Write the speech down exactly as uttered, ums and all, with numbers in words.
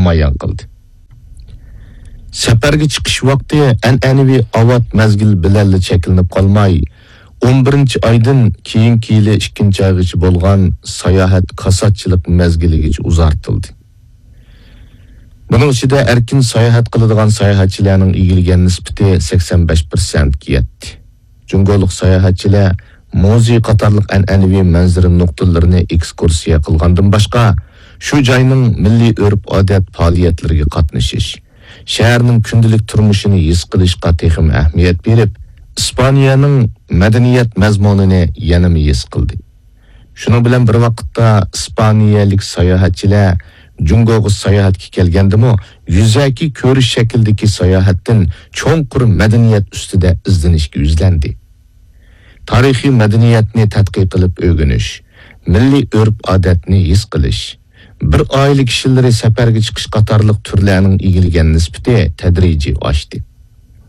مۇئەييەن قىلدى. سەپەرگە چىقىش ۋاقتى ئەنئەنىۋى ئاۋات مەزگىل بىلەنلا چەكلىنىپ قالماي، ئون بىرىنچى ئايدىن كېيىنكى يىلى ئىككىنچى ئايغىچە بولغان ساياھەت كاساتچىلىق مەزگىلىگىچە ئۇزارتىلدى. بۇنىڭ ئىچىدە ئەركىن ساياھەت قىلىدىغان ساياھەتچىلەرنىڭ ئىگىلىگەن نىسبىتى سەكسەن بەش پىرسەنتكە يەتتى. جۇڭگولۇق ساياھەتچىلەر مۇزېي قاتارلىق ئەنئەنىۋى مەنزىرە نۇقتىلىرىنى ئېكسكۇرسىيە قىلغاندىن باشقا، شۇ جاينىڭ مىللىي ئۆرپ-ئادەت پائالىيەتلىرىگە قاتنىشىش، شەھەرنىڭ كۈندىلىك تۇرمۇشىنى ھېس قىلىشقا تېخىمۇ ئەھمىيەت بېرىپ، ئىسپانىيەنىڭ مەدەنىيەت مەزمۇنىنى يەنىمۇ ھېس قىلدى. شۇنىڭ بىلەن بىر ۋاقىتتا، ئىسپانىيەلىك ساياھەتچىلەر جۇڭگوغا ساياھەتكە كەلگەندىمۇ، يۈزەكى كۆرۈش شەكلىدىكى ساياھەتتىن چوڭقۇر مەدەنىيەت ئۈستىدە ئىزدىنىشكە يۈزلەندى. تارىخىي مەدەنىيەتنى تەتقىق قىلىپ ئۆگىنىش، مىللىي ئۆرپ-ئادەتنى ھېس قىلىش، بىر ئائىلە كىشىلىرى سەپەرگە چىقىش قاتارلىق تۈرلەرنىڭ ئىگىلىگەن نىسبىتى تەدرىجىي ئاشتى.